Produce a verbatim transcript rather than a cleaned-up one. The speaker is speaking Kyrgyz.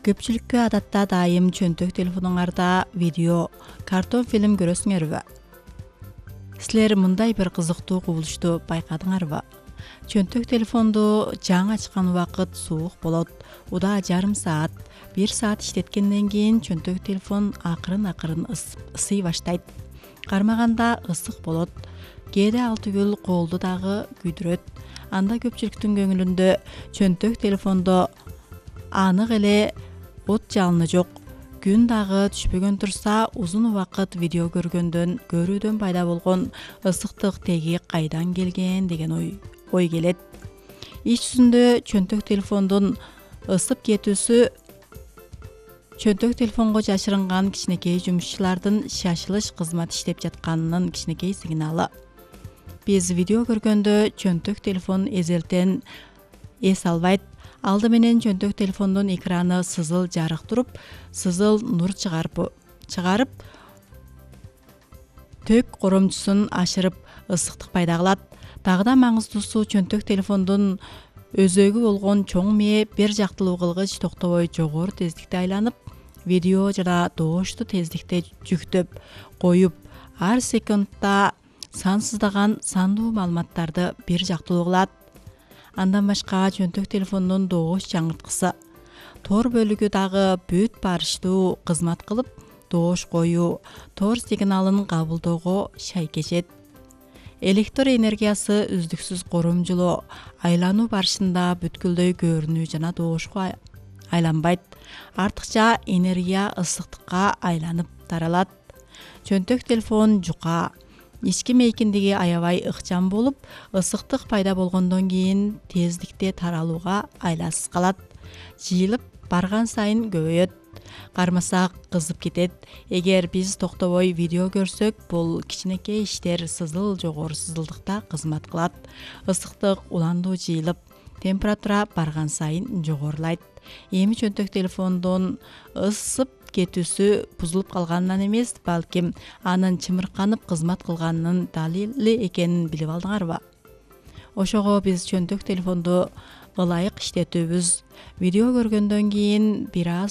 Көпчүлүккө адатта дайым чөнтөк телефонуңарда видео, картон фильм көрөсүңөрбү? Силер мындай бир кызыктуу кубулушту байкадыңарбы? Чөнтөк телефонду жаңы ачкан убакыт суук болот. Удаа жарым саат, бир саат иштеткенден кийин чөнтөк телефон акырын-акырын ысый баштайт. Кармаганда ысык болот. Кээде ал түгүл колду дагы күйдүрөт. Анда көпчүлүктүн көңүлүндө чөнтөк телефондо анык эле от жалыны жок. Күн дагы түшпөгөн турса, узун убакыт видео көргөндөн, көрүүдөн пайда болгон ысыктык теги кайдан келген деген ой ой келет. Иш жүзүндө чөнтөк телефондун ысып кетүүсү чөнтөк телефонго жашырынган кичинекей жумушчулардын шашылыш кызмат иштеп жатканынын кичинекей сигналы. Биз видео көргөндө чөнтөк телефон эзелтен эс албайт. Алды менен чөнтөк телефондун экраны сызыл жарык туруп, сызыл нур чыгарып чыгарып тök коромчусун ашырып ысыктык пайда кылат. Дагы да маңыздуусу, чөнтөк телефондун өзөгү болгон чоң мээ бир жактылуу кылгыч токтобой жогору тездикте айланып, видео жана добушту тездикте жүктөп коюп, ар секундта сансыздаган сандуу маалыматтарды бир жактылуу кылат. Андан башка чөнтөк телефондун добуш жаңырткысы тор бөлүгү дагы бүт барыштуу кызмат кылып, добуш коюу, тор сигналын кабылдоого шайкешет. Электр энергиясы үздүксүз коромжулоо, айлануу барышында бүткүлдөй көрүнүү жана добушка айланбайт. Артыкча энергия ысыктыкка айланып таралат. Чөнтөк телефон жука, ички мейкиндиги аябай ыкчам болуп, ысыктык пайда болгондон кийин тездикте таралууга айласыз калат. Жыйылып барган сайын көбөйөт. Кармасак кызып кетет. Эгер биз токтобой видео көрсөк, бул кичинекей иштер сызыл жогору сызылдыкта кызмат кылат. Ысыктык уландуу жыйылып, температура барган сайын жогорулайт. Эми чөнтөк телефондун ысып кетүүсү бузулуп калганынан эмес, балким анын чымырканып кызмат кылганынын далили экенин билип алдыңарбы? Ошого биз чөнтөк телефонду ылайык иштетүүбүз. Видео көргөндөн кийин бир аз